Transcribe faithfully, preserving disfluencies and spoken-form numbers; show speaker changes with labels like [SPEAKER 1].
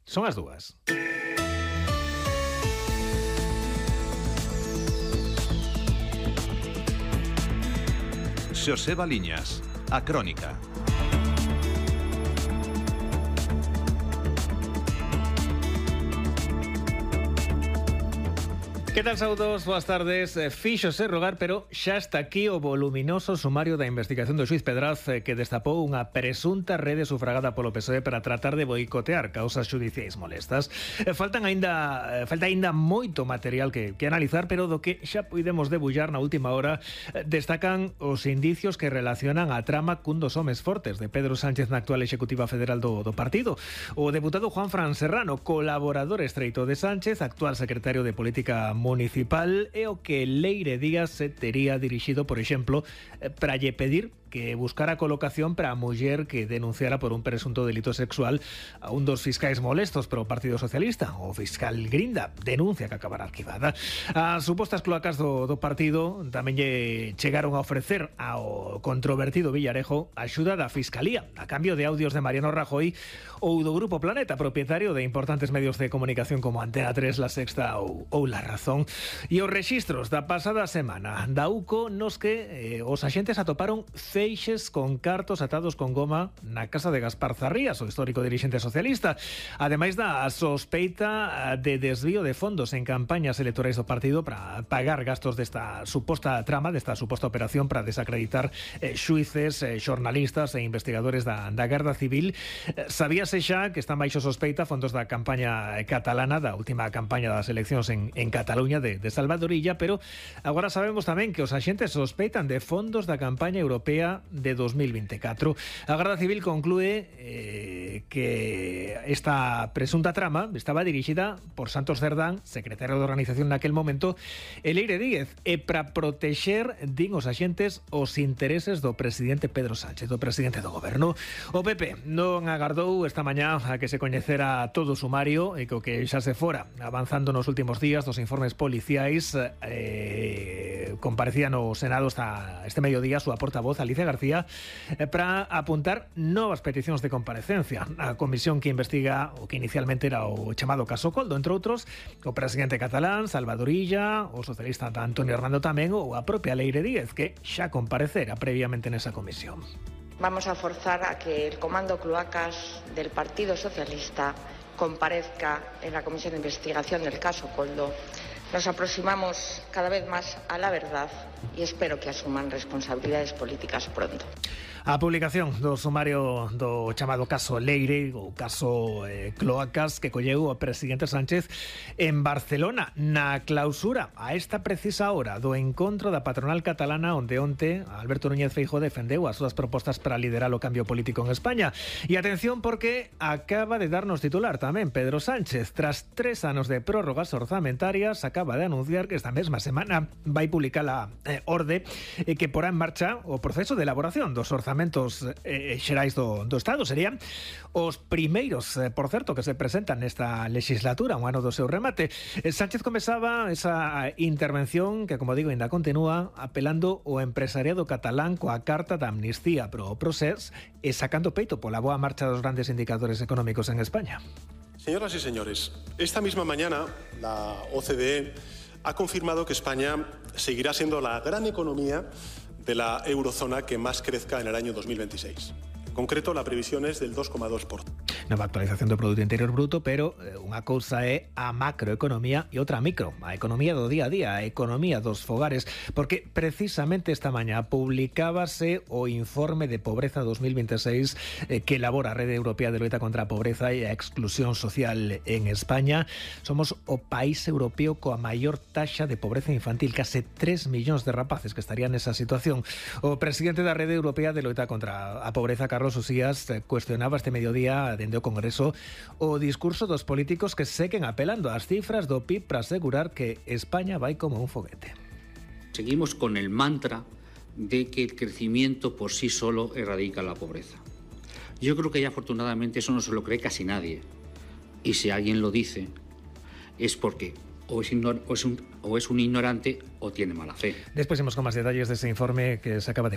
[SPEAKER 1] Son as dúas.
[SPEAKER 2] Xosé Baliñas, a Crónica.
[SPEAKER 1] Que tal, saudos? Boas tardes. Fíxose rogar, pero xa está aquí o voluminoso sumario da investigación do xuiz Pedraz que destapou unha presunta rede sufragada polo P S O E para tratar de boicotear causas xudiciais molestas. Faltan aínda falta aínda moito material que, que analizar, pero do que xa puidemos debullar na última hora destacan os indicios que relacionan a trama cun dos homes fortes de Pedro Sánchez na actual executiva federal do, do partido. O deputado Juanfran Serrano, colaborador estreito de Sánchez, actual secretario de Política Municipal, e o que Leire Díaz se tería dirixido, por exemplo, para lle pedir que buscara colocación para a muller que denunciara por un presunto delito sexual a un dos fiscais molestos pro Partido Socialista, o fiscal Grinda, denuncia que acabará arquivada. As supostas cloacas do, do partido tamén lle chegaron a ofrecer ao controvertido Villarejo axuda da Fiscalía, a cambio de audios de Mariano Rajoy ou do Grupo Planeta, propietario de importantes medios de comunicación como Antena tres, La Sexta ou, ou La Razón. E os rexistros da pasada semana da U C O nos que eh, os axentes atoparon feixes con cartos atados con goma na casa de Gaspar Zarrías, o histórico dirixente socialista, ademais da sospeita de desvío de fondos en campañas electorais do partido para pagar gastos desta suposta trama, desta suposta operación para desacreditar eh, xuíces, eh, xornalistas e investigadores da, da Garda Civil. Eh, sabíase xa que están baixo sospeita fondos da campaña catalana, da última campaña das eleccións en, en Cataluña de, de Salvadorilla, pero agora sabemos tamén que os axentes sospeitan de fondos da campaña europea de dos mil veinticuatro. A Garda Civil conclúe eh, que esta presunta trama estaba dirixida por Santos Cerdán, secretario de organización naquel momento, e Leire Díaz, e para protexer, din os axentes, os intereses do presidente Pedro Sánchez, do presidente do goberno. O P P non agardou esta mañá a que se coñecera todo o sumario e que o que xa se fora avanzando nos últimos días dos informes policiais. eh, comparecía no Senado hasta este mediodía a súa portavoz Alicia García eh, para apuntar novas peticións de comparecencia. A comisión que investiga o que inicialmente era o chamado caso Coldo, entre outros, o presidente catalán Salvadorilla, o socialista Antonio Hernando tamén, ou a propia Leire Díaz, que xa comparecera previamente nesa comisión.
[SPEAKER 3] Vamos a forzar a que el comando cloacas del Partido Socialista comparezca en la comisión de investigación del caso Coldo. Nos aproximamos cada vez más a la verdad y espero que asuman responsabilidades políticas pronto.
[SPEAKER 1] A publicación do sumario do chamado caso Leire, o caso eh, Cloacas, que colleu o presidente Sánchez en Barcelona, na clausura a esta precisa hora do encontro da patronal catalana, onde onte Alberto Núñez Feijóo defendeu as súas propostas para liderar o cambio político en España. E atención, porque acaba de darnos titular tamén Pedro Sánchez. Tras tres anos de prórrogas orzamentarias, acaba de anunciar que esta mesma semana vai publicar a eh, orde eh, que porá en marcha o proceso de elaboración dos orzamentos eh, xerais do, do Estado. Serían os primeiros, eh, por certo, que se presentan nesta legislatura, un ano do seu remate. Eh, Sánchez comezaba esa intervención que, como digo, ainda continúa apelando ao empresariado catalán coa carta da amnistía pro Procés e sacando peito pola boa marcha dos grandes indicadores económicos en España.
[SPEAKER 4] Señoras y señores, esta misma mañana la O C D E ha confirmado que España seguirá siendo la gran economía de la eurozona que más crezca en el año dos mil veintiséis. En concreto, la previsión es del dos coma dos por ciento.
[SPEAKER 1] Nova actualización do Produto Interior Bruto, pero eh, unha cousa é a macroeconomía e outra a micro, a economía do día a día, a economía dos fogares, porque precisamente esta mañá publicábase o informe de pobreza dos mil veintiséis eh, que elabora a Rede Europea de Loita contra a Pobreza e a Exclusión Social en España. Somos o país europeo coa maior taxa de pobreza infantil, case tres millóns de rapaces que estarían nesa situación. O presidente da Rede Europea de Loita contra a Pobreza, Carlos Usías, cuestionaba este mediodía dende o Congreso o discurso dos políticos que seguen apelando ás cifras do P I B para asegurar que España vai como un foguete.
[SPEAKER 5] Seguimos con el mantra de que el crecimiento por sí solo erradica la pobreza. Yo creo que ya afortunadamente eso no se lo cree casi nadie. Y si alguien lo dice es porque o es, ignor- o es, un, o es un ignorante o tiene mala fe.
[SPEAKER 1] Despois imos con máis detalles dese informe que se acaba de